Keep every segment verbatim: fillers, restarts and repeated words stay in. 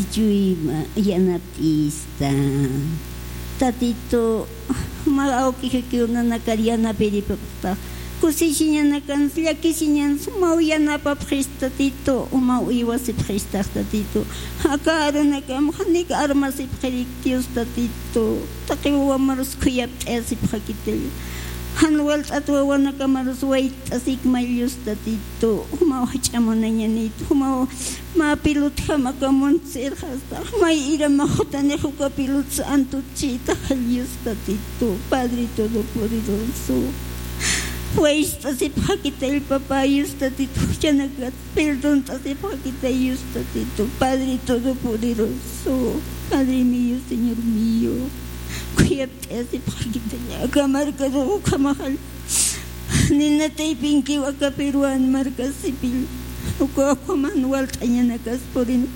Chuyma yanapt'ista. Tatitu, mä awkijakiw nanakar yanapiripxtax. Kusisiñanakansa, llakisiñansa, jumaw yanapapxista, Tatitu, jumaw uywasipxistax, Tatitu. Aka arunakam janik armasipxirikti, Dios, Tatitu. Taqi wawamarus khuyapt'ayasipxakitalla. Jan walt'at wawanakamarus wayt'asikmay, Dios, Tatitu. Jumaw jach'a munañanit, jumaw mä pilutjam aka muntsirxasta, may iramax jutanix uka pilutsa antutchïtaxall, Dios, Tatitu, Padre Todopoderoso. Wayt'asipxakitall, papá, Dios, Tatitu, juchanakat perdont'asipxakitay, Dios, Tatitu, Padre Todopoderoso, Padre mío, Señor mío. Khuyapt'ayasipxakitalla, aka markaru ukhamaxall. Nina taypinkiw aka Peruan markasipil, uka ukhaman walt'añanakas purin.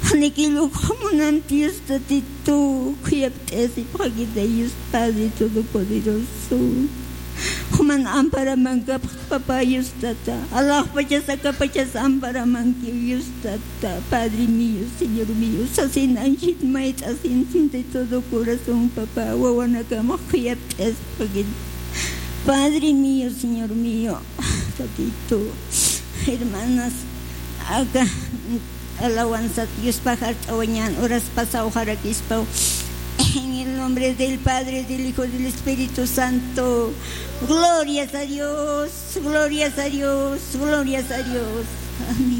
Janikill ukhamunam, Dios, Tatitu, khuyapt'ayasipxakitay, Dios Padre Todopoderoso. Juman amparaman kapxta, papá, Dios, Tata. Alaxpachas akapachas amparamankiw, Dios, Tata. Padre mío, Señor mío, sasin anchhit mayt'asin de todo corazón, papá, wawanakamax khuyapt'ayasipxakit. Padre mío, Señor mío, Tatitu, hermanas, aka alabanza Diospa jart'awañan horas pasaw jarakispaw. En el nombre del Padre, del Hijo, del Espíritu Santo. Glorias a Dios, glorias a Dios, glorias a Dios. Amén.